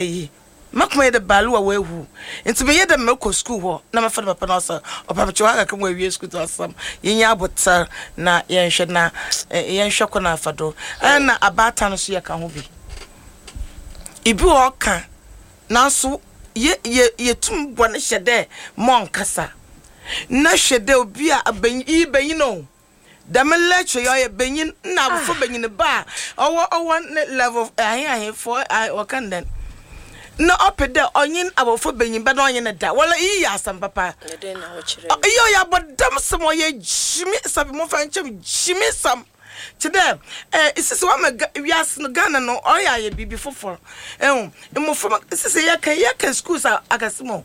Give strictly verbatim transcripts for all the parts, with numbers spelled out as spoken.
Eyi makoma yɛ dɛ baalu a wawu, nti meyɛ dɛ mekɔ sukuu hɔ na mɛfa no papa no ɔsɛ ɔpa mekyɛ hɔ akaka mu awie sukuu. Nti asɛm yɛnyɛ abotar na yɛnhwɛ na yɛnhwɛ kɔ no afa do. Ɛna abaatan no so yɛka ho bi, ibi wɔ ɔka nanso yɛ yɛ yɛtum bɔ ne hyɛ dɛ ma ɔnkasa na hwɛ dɛ obi a benyin iyi benyin o, dɛm lecture yɛ ɔyɛ benyin na abofra benyin ba a ɔwɔ ɔwɔ ne level ahe ahefo wɔka no dɛn na ɔpɛ dɛ ɔnye abɔfra benyin ba na ɔnye ne da wala. Iyi yɛ asɛm papa. Iyi ɔyɛ abɔdam sɛm, ɔyɛ gyimi sɛm, momfa nkyɛm gyimi sɛm kyɛ dɛ ɛɛ sisi wama wiase no Ghana no ɔyɛ ayɛ biribi foforɔ. Ɛho mmɔfra sisi yɛka yɛka schools a akɛse mu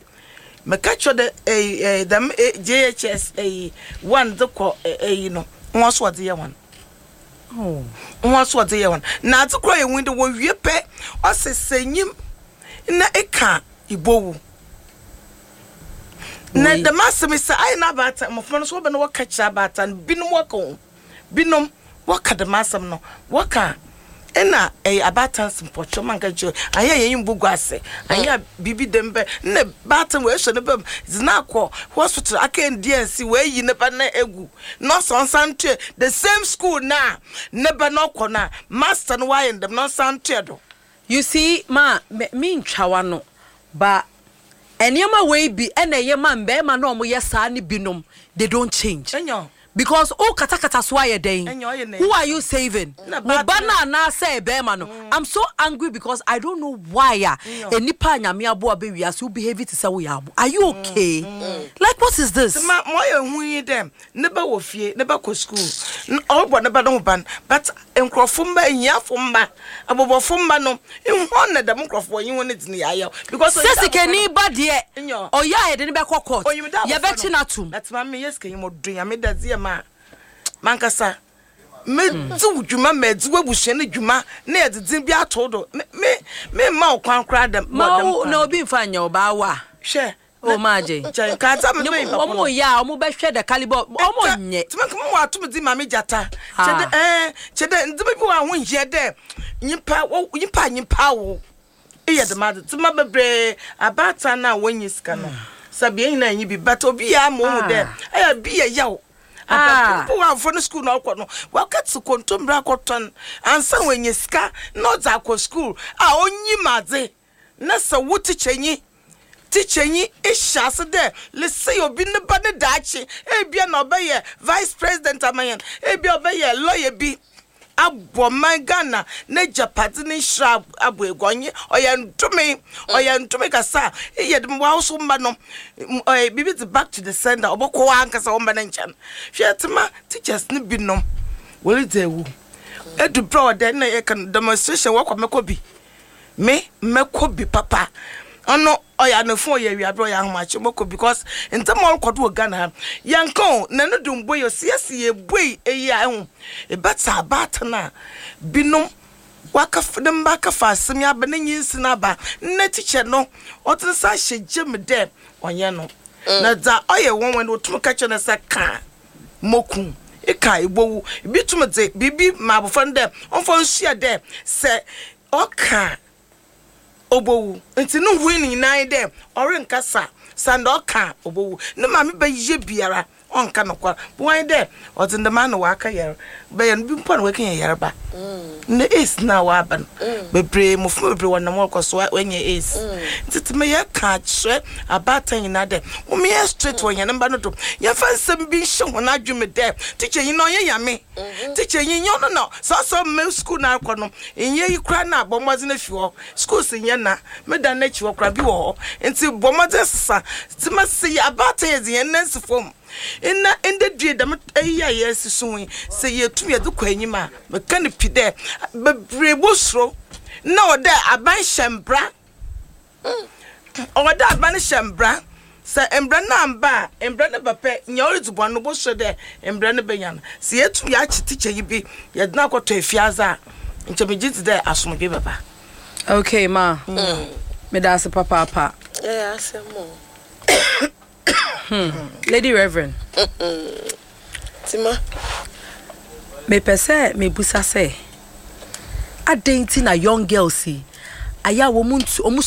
mɛka kyerɛ dɛ ɛyi ɛyi dɛm J H S ɛyi one de kɔ ɛyi no wɔn so wɔde yɛ wɔn wɔn so wɔde yɛ wɔn na adze kora yɛ wɔn de wɔwie pɛ ɔsɛ sɛ nyim na eka ibowu na dɛm asɛm yi sɛ ayɛ na abaatan mmɔfra no so wɔbɛ na wɔka kyerɛ abaatan binom, wɔka ho binom wɔka dɛm asɛm no wɔka ɛna ɛyɛ abaatan mpɔtɔ manka kyerɛ ayɛ yɛn yi gu ase ayɛ biribi dɛm bɛ na baatan wɔ ɛhyɛ ne bɛm zina akɔ hospital aka N D N C wɔayi ne ba na egu na ɔsɔ nsan to the same school na ne ba na ɔkɔ na master no wayɛ ndɛm na ɔsan to do. You see, ma me me ntwa no ba nneɛma wei bi ɛna ɛyɛ ma mbɛɛma na ɔmo yɛ saa ne binom, they don't change. Ɛnyɛ because o katakata so ayɛ dɛn? Ɛnyɛ ɔyɛ na Who are you saving? Na wo ba baatan- na anaasɛ bɛrima no? I'm so angry because I don't know why a enipa a Nyame aboa bɛ wiase wo behave te sɛ woyɛ abo. Are you okay? Like, what is this? Ma ma ɔyɛ hu yi dɛ ne ba wɔ fie, ne ba kɔ school, ɔrebɔ ne ba ne ho ban, but nkurɔfo mba, ehiafo mba, abɔbɔfo mba no nhɔn na dɛm nkurɔfo wɔnyi wɔn ne dzi ne yɛayɛw because sɛ sikani ba deɛ Nyɛ. ɔyɛ a yɛde ne bɛkɔ court, onyim dɛ abɔfra yɛbɛkye no no atom. Na tema me yɛ sikanyi mo do Nyame da dze yɛ ma mankasa medzi wo dwuma ma edzi w'abusua no dwuma na yɛdze dzin bi ato do me me me mma wo kwan koraa dɛm ma wɔ dɛm wo kwan na obi nfa nyɛ ɔbaa wa. Hwɛ. O maa gye. Nkyɛn nkaadza me bɛyi ɔmo yɛ a ɔmo bɛhwɛ the caliber, ɔmo nyɛ. Tuma kama wɔ atum di maame gyata Ah. kyɛ dɛ ɛɛ kyɛ dɛ ndɛmɛ bi wɔ a ho nhia dɛ nyimpa wɔ nyimpa a nyimpa awo eyɛ dɛm ade tuma bebree. Abaatan na wɔnyi sika no sabi yɛn nyinaa nyi bi, but obi yɛ ama ohun dɛ ɛyɛ bi yɛ yaw. Ah. Abapempo wɔ afɔ no school na ɔkɔ no wakati kontombere akɔtɔn ansa na wɔanya sika na ɔdze akɔ school a onyim adze na sɛ wo tikyanyi tikyanyi ehyɛ ase dɛ lese obi ne ba ne daakye ebia na ɔbɛyɛ vice president ama yɛn, ebia ɔbɛyɛ lawyer bi abɔ man Ghana n'agyapade ne nhyira abɔ egu. Ɔnye ɔyɛ ntome, ɔyɛ ntome kasa a eyɛ de wa so mba no m- ɔyɛ biribi de back to the sender, ɔbɛkɔ hɔ ankasa wɔn ba ne nkyɛn. Hwɛ, tema teachers ne binom wɔredzi ewu edu berɛ a ɔdɛ na yɛka no demonstration wɔkɔ mɛkɔ bi, me mɛkɔ bi papa. Ɔno ɔyɛ anafo, ɔyɛ awiaberɛ, ɔyɛ ahomakye mɔkɔ because ntɛm a ɔrekɔ do wɔ Ghana ha yɛnka o na no de mbɔ yɛ siesie yɛbue eyi a ɛho ebɛta abaatan a binom waka ne mba akafa asɛm yi aba ne nyinsi aba nna tikya no ɔde nsa ahyɛ gye mu dɛ ɔnyɛ no na dza ɔyɛ wɔn wɔn no otum ka kyerɛ no sɛ ka moku eka ebowu. Bi tum dze biribi ma abɔfra no dɛ ɔmfa nsua dɛ sɛ ɔka obowu, nti ne hu ne nyinaa yi dɛ ɔrenkasa sanda ɔka obowu. Ne maame bɛyɛ biara ɔnka nokwar wɔn dɛ ɔdze ndɛm ano waka yɛre bɛyɛ no bi mpo na wɔka yɛ yareba na AIDS na waba no bebree, mmɔfra bebree wɔnam wɔkɔ so wɔanya AIDS. Nti tumi yɛka kyerɛ abaatan nyinaa dɛ wɔn straight wɔ yɛn mba no do, yɛmfa nsɛm bi nhyɛ wɔn adwene dɛ tikya yi na ɔnyɛ Nyame, tikya yi nyɛ ɔno na sɛ ɔsɛ ɔmma sukuu na akɔ no nyɛ yi koraa na abɔ mmɔden afi hɔ. Schools nyɛ na meda n'akyi hɔ koraa bi wɔ hɔ, nti bɔ mmɔden sesa tuma sɛ yɛ abaatan yɛ dze yɛn nan si fam nna ndɛ due dɛm eyi a yɛsi so yi sɛ yɛtum yɛde kɔ anyim a meka no pi dɛ bebree bosuro na ɔdɛ aban hyɛ mbra, ɔwɔ dɛ aban hyɛ mbra. Sɛ mbra no amba a mbra no ba pɛ nyɛ ɔredzi bɔn no bosuro dɛ mbra no bɛnya no. Sɛ yɛtum yɛakye tikya yi bi yɛde no akɔtɔ efiadze a nkyɛ megye dzi dɛ asomdwe bɛba. Okay ma, meda ase papaapa. Ɛyɛ asɛm o. Lady Reverend. Tima. Mepɛ sɛ mebusa sɛ adɛn nti na young girls yi ayɛ a wɔn ntu wɔn